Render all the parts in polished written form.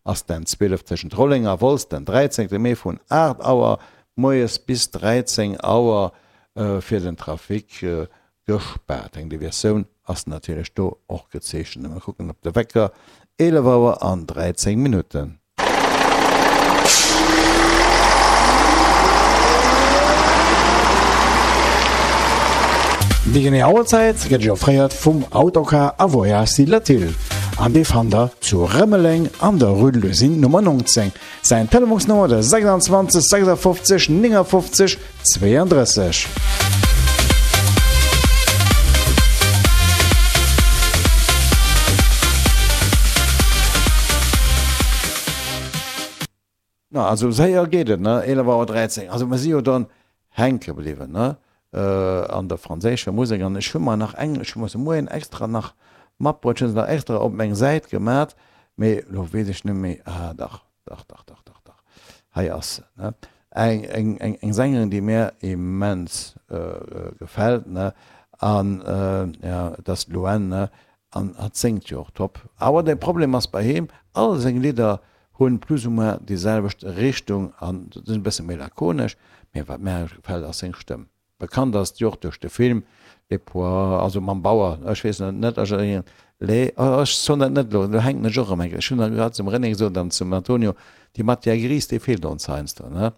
ass den 12 tëschent Rolleng a Wolz, den 13 Mee vun 8 Auer moies bis 13 Auer fir den Trafic gespaart. Eng Deviatioun ass natierlech do och gezeechent. Mir kucken op de Wecker, 11 Auer an 13 Minutten. Déi genee Auerzäit gëtt Iech offréiert vum Autocar a Voyage Latil an dee fannt der zu Rëmeleng an der Rue de l'Usine Nummer 19. Säin Telefonsnummer de 26 56 59 32. Na, also séier geet et, ne? 11 Auer 13. Also mer si jo dann hänke bliwwen, ne? An der franséischer Musek. An ech hu mer nach eng, ech hu mer se moien extra nach matbruet, ech hu se nach extra op meng Säit gemat, mee elo weess ech net méi, ah dach, dach, dach, dach, dach, dach, hei ass se, ne? Eng, eng, eng, eng Sängerin, déi mir immens gefält, ne? An, ja, et ass d'Louane, ne? An hatt séngt jo och top. Awer de Problem ass bei him, all seng Lidder hunn plus ou moins déi selwecht Richtung an sinn e bësse méi lakonesch, mee wat mär gefält ass seng Stëmm. Bekannt ass d'Joch duerch de Film Les Pois, also mam Bauer, ech weess net, net ech les, oh ech soen dat net elo, elo hänken ech och erëm eng Kéier, ech hunn dat grad zum René gesot an zum Antonio, déi Matière grise, déi feelt ons heiansdo, ne?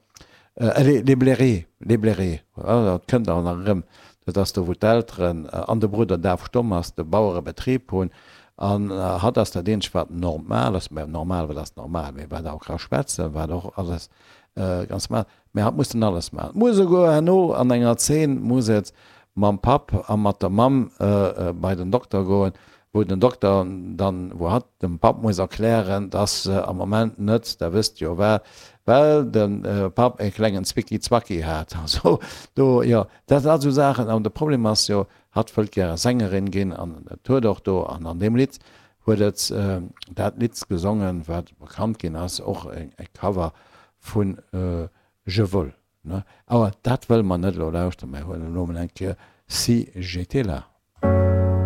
Les, les Blérés, les Blérés, voilà, dat kënnt awer nach erëm, dat ass do wou d'Elteren an de Brudder daf stomm ass, de Bauerebetrib hunn an hatt ass dat eenzegt wat normal ass, mä normal, wat ass normal, mee wat och ka schwätzen, wat och alles ganz normal, Mä hatt muss dann alles maachen. Et muss esouguer herno an enger Zeen muss et mam Papp a mat der Mamm bei den Dokter goen, wou den Dokter dann, wou hatt dem Papp muss erklären, dass se am Moment net, der wësst jo wat, well de Papp e klengen Zwicki-Zwacki hat. Also do, jo, dat sinn all esou Saachen. An de Problem ass jo, hatt wëllt gäre Sängerin ginn an et huet och do an an deem Lidd huet et dat Lidd gesongen, wat bekannt ginn ass, och e Cover vun Je vole, ne? Awer dat wëlle mer net elo lauschteren, mer huelen elo emol eng Kéier Si j'étais là.